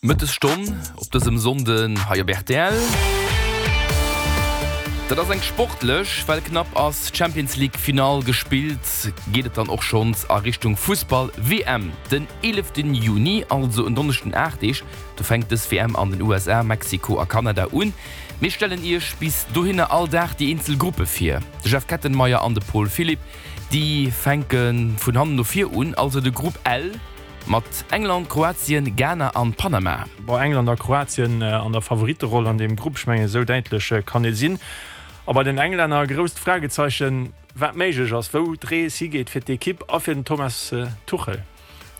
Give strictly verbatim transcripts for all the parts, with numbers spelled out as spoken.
Mëttesstonn op dësem Sonnden hei op R T L. Dat ass eng sportlech, well knapp ass Champions League Final gespillt, geet et dann och schonns a Richtung Fussball W M. Den eelefte Juni, also en Donneschden aacht Deeg, do fänkt dës W M an den U S A, Mexiko a Kanada un. Mir stellen iech bis dohinner all Dag déi eenzel Gruppe vir. De Jeff Kettenmeyer an de Paul Philipp, déi fänke vun hannen no vir un, also de Grupp L mat England, Kroatien, Ghana an Panama. Bon, England a Kroatien an der Favoritteroll an deem Grupp, ech mengen, esou däitlech kann ee sinn. A bei den Englänner e grousst Fragezeichen, wat méiglech ass, wou d'Rees higeet fir d'Ekipp a fir den Thomas Tuchel.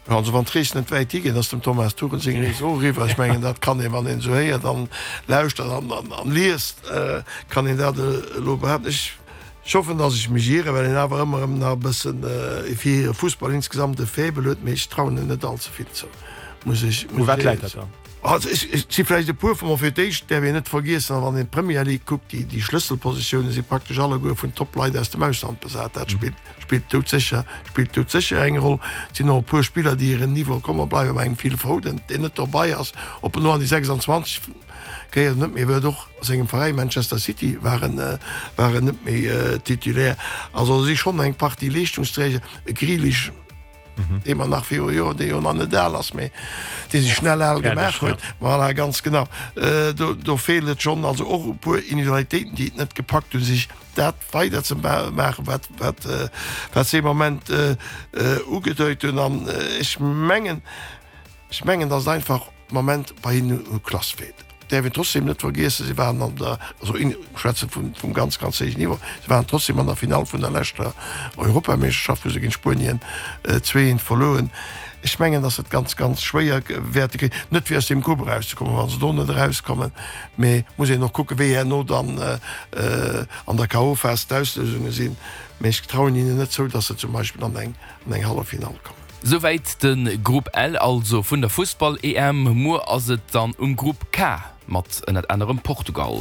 Also wann d'Rees net wäit higeet, ass dem Thomas Tuchel seng Rees och eriwwer. Ech mengen, dat kann een, wann een esou héiert an lauschtert an an liest, kann een dat elo behaapten. Ech hoffen, datt ech mech ieren, well een awer ëmmer erëm nach e bëssen fir hire Fussball insgesamt e Faible huet, mee ech trauen en net all ze vill zou, muss ech. U wat läit dat dann? Also ech, et si vläicht e puer vun, ma fir d'éischt däerf een net vergiessen, wann een d'Premier League kuckt, déi, déi Schlësselpositioune si praktesch alleguer vun Top-Leit aus dem Ausland besat. Dat spillt, spillt doudsécher, spillt doudsécher eng Roll. Et sinn och e puer Spiller, déi hiren Niveau komme bleiwen, bei engem Phil Foden, deen net dobei ass, ob en elo an déi sechsanzwanzeg gehéiert net méi, huet och a sengem Veräi Manchester City war en, war en net méi Titulaire. Also et si schonn eng Partie Leeschtungsträger, e Grealish, dee mer nach viru Joer, dee jo nach net al ass, mee dee sech schnell al gemaach huet. Voilà, ganz genau. Do, do feelt et schonn, also och e puer Individualitéiten, déi et net gepackt hunn, sech dat weider ze maachen, wat, wat, wat se ee Moment ugedeit hunn. An ech mengen, ech mengen, datt et einfach am Moment bei hinnen u Klass feelt. Däerf een trotzdem net vergiessen, si waren an der, also ech schwätze vum, vum ganz, ganz héijen Niveau, si waren trotzdem an der Finall vun der leschter Europameeschterschaft, wou se géint Spuenien zwee eent verluer hunn. Ech mengen, datt se et ganz, ganz schwéier wäerte kréien, net fir aus deem Grupp erauszekommen, wa se do net erauskommen, mee muss een och kucken, wéi herno dann an der K O. Phas d'Auslousunge sinn. Mee ech trauen hinnen net zou, datt se zum Beispill an eng, an eng Halleffinall kommen. Souwäit de Grupp L also vun der Fussball-E M. Muer ass et dann um Grupp K mat ënnert anerem Portugal.